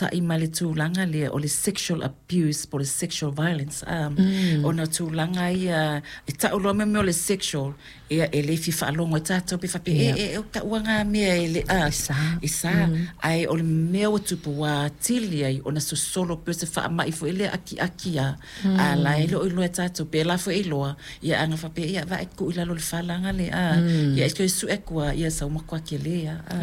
fesootai ma le tulaga lea o le sexual abuse po o le sexual violence, a, ona o tulaga ia e tau loa mea o le sexual, ia e le fia faalogo ai tatou pe faapea e o taua na mea e le a E sa. E sa, ae o le mea ua tupu ua atili ai ona sosolo pei o se faamai foi lea akiaki a a la e le o iloa e tatou pe la foi e iloa ia ana faapea ia vaai tuu i lalo o le falaga le a ia e toe sue atu a ia sau matua tele a a.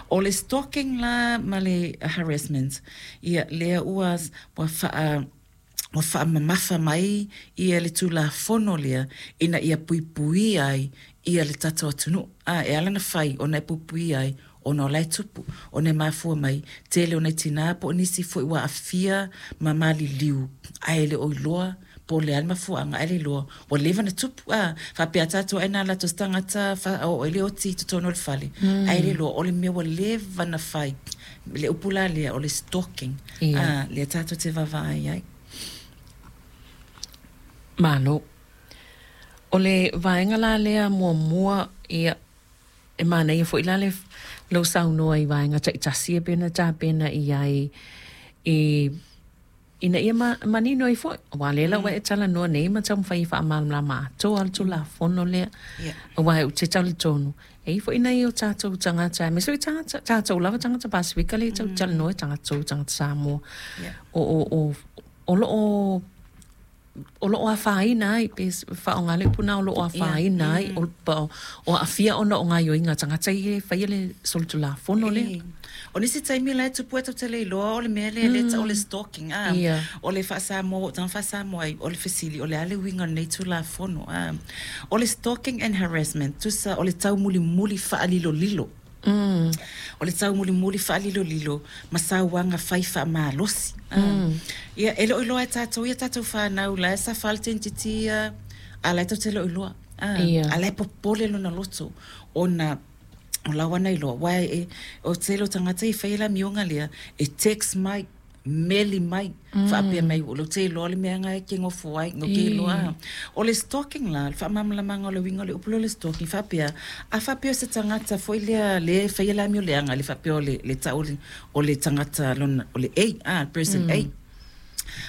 O le stalking la ma le harassment, ia lea ua ua faa ua faamamafa mai ia le Tulafono lea ina ia puipuia ai ia le tatou atunuu. A, e ala ona fai ona e puipuia ai ona o la e tupu, ona e mafua mai tele o nai tinā po o nisi foi ua aafia ma maliliu ae le o iloa po o le a le mafuaaga ae le iloa ua leva ona tupu. A, faapea tatou ai na alu atu o se tagata faaoo ai le oti i totonu o le fale ae le iloa o le mea ua leva ona fai. Le upu la lea o le stalking, a, lea tatou te vaavaai ai. Malo. O le vaega la lea muamua, ia, e manaia foi la le lou saunoa i vaega taitasi e pei ona tapena i ai i ina ia manino ai foi, aua o lea la ua e talanoa nei ma taumafai e faamalamalama atoa le Tulafono lea, aua ou te talitonu, e i ai foi nai o tatou tagata, aemaise foi tagata, tatou lava tagata Pasefika lea e tau talanoa, tatou tagata Samoa, o lo o o lo o afaina ai, pe faaaoga le upu lena o lo o afaina ai, o aafia ona o gaoioiga a tagata ia e faia le solitulafono lea. O nisi taimi la e tupu ai tatou te le iloa o le mea lea lea e tau o le stalking, a. O le faa-Samoa ua ou tago faa-Samoa ai, o le fesili, o le a le uiga o lenei Tulafono, a. O le stalking and harassment, tusa o le taumulimuli faalilolilo. O le taumulimuli faalilolilo ma sauaga fai faamalosi. Ia, e le o iloa e tatou ia tatou fanau la e safa le teinititi ia, a la e tatou te le o iloa. A la e popole lona loto ona o la ua na iloa, aua e, o le tele o tagata e faia le amioga lea, e text mai, meli mai, faapea mai, ou te iloa le mea na e te nofo ai, ou te iloa. O le stalking la, le faamalamalamaga o le uiga o le upu lea o le stalking, faapea, a faapea o se tagata foi lea lea e faia le amio leaga, le faapea o le tau o le tagata lona, o le A, a, person A.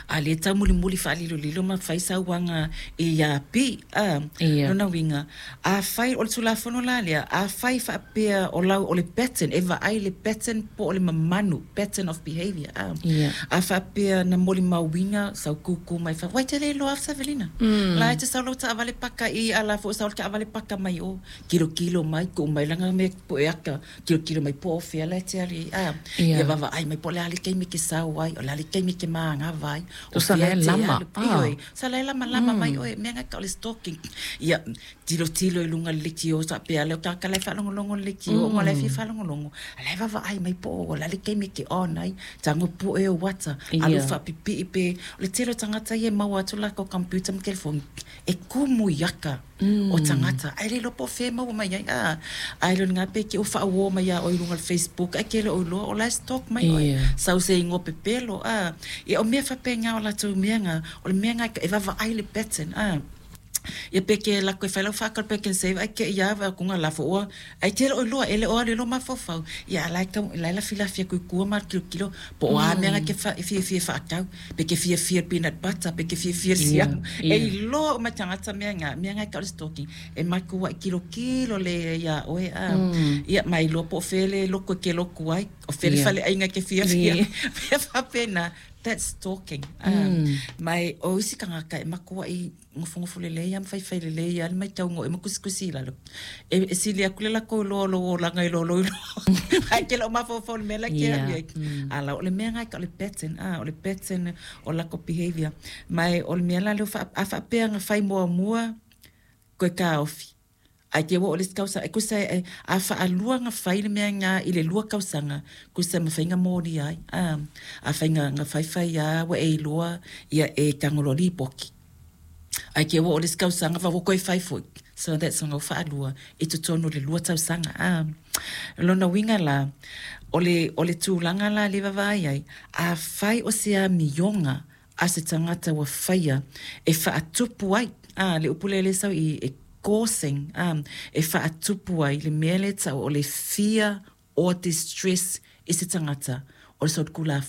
A lea e taumulimuli faalilolilo ma fai sauaga ia B, a, lona uiga, afai, o le Tulafono la lea, afai faapea o lau, o le pattern, e vaai i le pattern po o le mamanu, pattern of behaviour, a. A faapea na molimauina sau kūkū mai fafo, ua e te le iloa Savelina, la e te sau lau taavale paka i i, a la foi ua sau le taavale paka mai o, tilotilo mai, tuu mai lana mea pue ata, tilotilo mai po o fea la e te alu i ai, a. Ia vaavaai mai po o le a le taimi e te sau ai, o le a le taimi e te manava ai, o fea e te alu, ioe, sa la e lamalama mai oe, mea na e tau o le stalking. Ia, tilotilo i luga o le leitio, faapea lea o tagata la e faalogologo i le leitio, ona o la e fia faalogologo, a la e vaavaai mai po o le a le taimi e te on ai, tago pue ou ata, alu faapipii pe, o le tele o tagata ia e maua atu latou computer ma telefoni, e tumu i ata o tagata, ae le iloa po o fea e maua mai ai, a, ae le o lena pe te i ua faauo mai ia oe i luga o le Facebook ae e te le o iloa o la e stalk mai oe, sau se igoa pepelo, a, ia o mea faapena o latou mea na, o le mea na e vaavaai le pattern, a. Ia pe ke alu atu e fai lau faatau i le Pak'nSave ae te i lava vaai atu na lafo ua ae te le o iloa e le o alu i lou mafaufau ia a la e tau la e lafilafi atu i tua ma tilotilo po o a mea na e te fiafia e faatau pe te fiafia i le peanut butter pe te fiafia i le siamu e iloa uma e tagata mea na mea na e tau o le stalking e matuai tilotilo lelei ia oe a ia ma iloa po o fea le lotu e te lotu ai o fea le faleaiga e te fiafia mea faapena. That's stalking. Ma e o isi tagata e matuai nofonofo lelei lava ma faifai lelei lava le matauga o oe ma tusitusi i lalo. E sili atu le latou iloa o lou olaga i lo lou iloa. Ae e te le o mafaufau i le mea la e te alu i ai. A la o le mea lena e tau o le pattern, a, o le pattern o latou behaviour. Ma e o le mea la lea a faapea na fai muamua toe taofi, Ae te ua oo i le isi tausaga, e tusa e, a faalua ona fai le mea lena i le 2 tausaga, tusa e mafai ona molia ai. A, afai na, na faifai lava ua e iloa, ia e tago loa lipoti. Ae te ua oo i le isi tausaga ua toe fai foi, so that's ona ua faalua i totonu o le 2 tausaga. A, o lona uiga la, o le, o le tulaga la lea e vaavaai ai, afai o se amioga a se tagata ua faia e faatupu ai, a, le upu lea lea e sau i i, e causing, a, e faatupu ai le mea lea e tau o le fear or distress i se tagata, o le solitulafono.